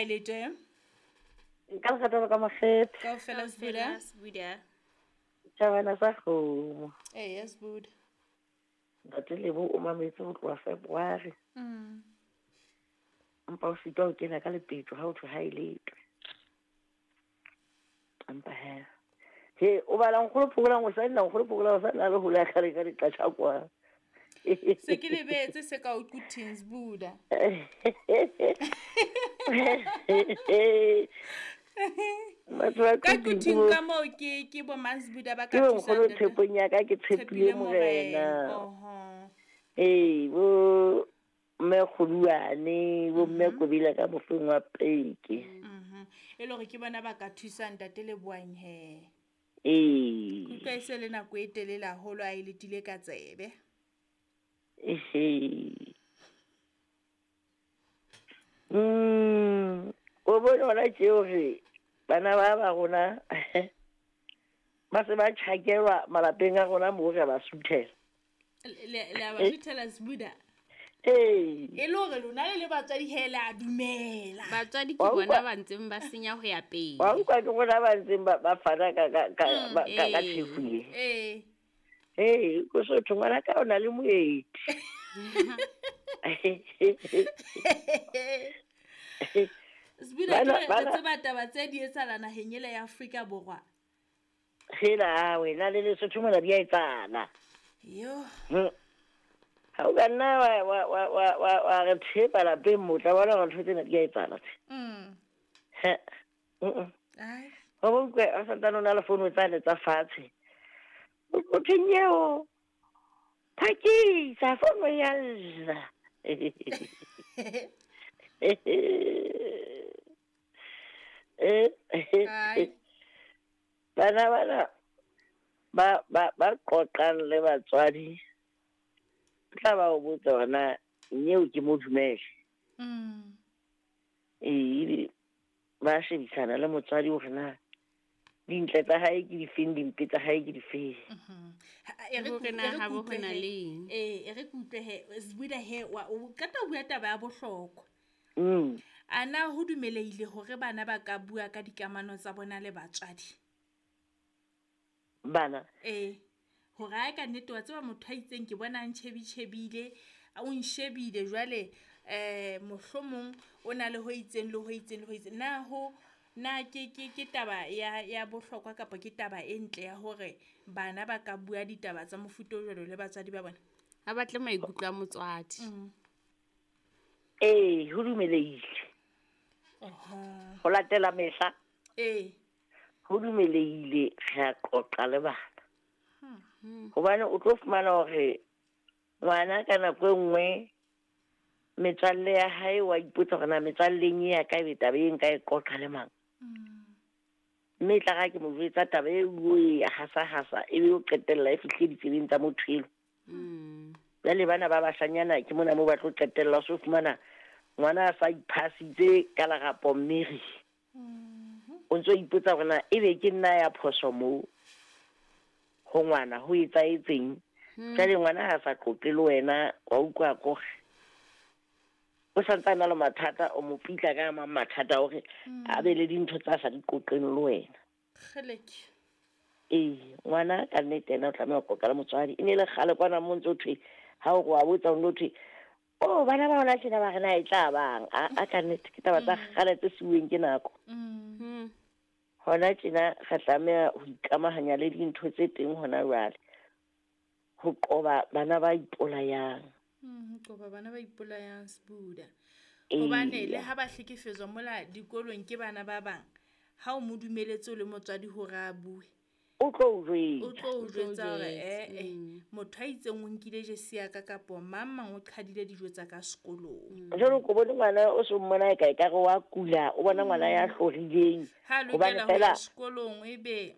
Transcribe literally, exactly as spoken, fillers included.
Ha e le teng. Nka lekgatha ka makgethe. Kaofela Sbuda. Sbuda. Tjhabana sa kgomo. Eh, Sbuda. Ntate Lebo o mametse ho tloha February. Mm. Empa o sitwa ho kena ka lepetjo ha o thwe ha e letwe. Empa he. He, o bala nkgolo phokolang o sa nna nkgolo phokolang o sa nna le hole ya kgale ka diqatjha kwa. Se ke lebetse se ka o quthing Sbuda. Ka quthing ka moo ke ke bo mang Sbuda ba ka Ke bo thusang nkgono ntate? tshepong ya ka ke tshepile Tshepile morena. Morena. Oho. Ee, bo mme Kgoduane, bo mme Kobila ka mofeng wa peke. Mhm. E le hore ke bona ba ka thusang ntate Lebohang he. Ee. Kutlwa e se le nako e telele haholo a e letile ka tsebe. Ehe. Mm, o bone hona tje hore bana ba ba rona ba se ba tjhakelwa malapeng a rona moo re ba suthela. Le le le a ba suthela Sbuda. Ee. E le hore lona le le batswadi he le a dumela. Batswadi ke Wa bona utlwa- ba ntseng ba senya ho ya pele. Wa utlwa ke rona ba ntseng ba ba fana ka ka ka Mm, ba- ka ka ee. tjhefu e. Ee. Ee, ko sotho ngwana ka o na le moeti. Sbuda ke Bana- re re bana- tseba taba tse di etsahala naheng ele ya Afrika Borwa. Hela wena le Lesotho mona di a etsahala. Yo. Hmm. Ha o ka nna wa wa wa wa wa wa re thepa lapeng mo tla bona hore ntho tsena di a etsahala tje. Mm. He. Mm. Ai. Wa bo utlwe a santsane o na le founu tsane tsa fatshe. O thwe nyeo. Phakisa founu ya lla. Eh. Ai. Bana bana ba ba ba qoqang le batswadi tla ba o botsa hore na nyeo ke mo dumele. Mm. Ee, ebe ba shebisana le motswadi hore na dintle tsa hae ke difeng, dimpe tsa hae ke difeng. Mhm. Ha, e re Hore ku- na e re ha bo kutlwe ho na he. le eng. Ee, e re kutlwe he. Sbuda he, wa o qeta ho bua taba ya bohlokwa. Mm. A na ho dumelehile hore bana ba ka bua ka dikamano tsa bona le batswadi? Bana. Ee. Hore ha e ka nnete wa tseba motho a itseng ke bona a ntjhebitjhebile, o nshebile jwale eh mohlomong o na le ho itseng le ho itseng le ho itseng. Na ho na ke ke ke taba ya ya bohlokwa kapa ke taba e ntle ya hore bana ba ka bua ditaba tsa mofuta o jwalo le batswadi ba bona? Ha batle maikutlo a motswadi. Mm. Ee, ho dumelehile. Oho. Ho latela mehla. Ee. Ho dumelehile re a qoqa le bana. Hmm. Hobane o tlo fumana hore ngwana ka nako e nngwe metswalle ya hae wa ipotsa hore na metswalleng e ya ka ebe taba e nka e qoqa le mang. Mm. Mme e tla re ha ke mo jwetsa taba e o e hasa-hasa ebe o qetella e fihle ditsebeng tsa motho eno. Mm. Jwale bana ba bashanyana ke mona moo ba tlo qetella o so fumana ngwana a sa iphasitse ka lerapo mmeri. Mhm. O ntso ipotsa hore na ebe ke nna ya phoso moo ho ngwana ho etsahetseng. Hmm. Jwale ngwana ha sa qoqe le wena wa utlwa kore o santse a na le mathata, o mo pitla ka mang mathata hore a be le dintho tsa sa di qoqeng le wena. Kgeleke. Ee, ngwana ka nnete ena o tlameha ho qoqa le motswadi. E ne le kgale kwana mo ntso thwe ha o re wa botsa o no thwe oh bana ba hona tjena ba re na e tla bang. A, a ka nnete ke taba tsa kgale tse siuweng ke nako. Mm. Hmm. Hona tjena re tlameha ho ikamahanya le dintho tse teng hona jwale ho qoba bana ba ipolayang. Mm, ho qoba bana ba ipolayang Sbuda. Ee. Hobane le ha ba hlekefetswa mola dikolong ke bana ba bang, ha o mo dumeletse o le motswadi hore a bue, O tlo o jwetsa. o tlo o O tlo o jwetsa hore jwetsa, eh, eh, mm. motho a itseng o nkile jesi ya ka kapo mang mang o qhadile dijo tsa ka sekolong. Jwale ko bone ngwana o so mmona e ka ekare wa kula, o bona ngwana ya hlorileng. Ha Hobane lokela ho ya fela sekolong ebe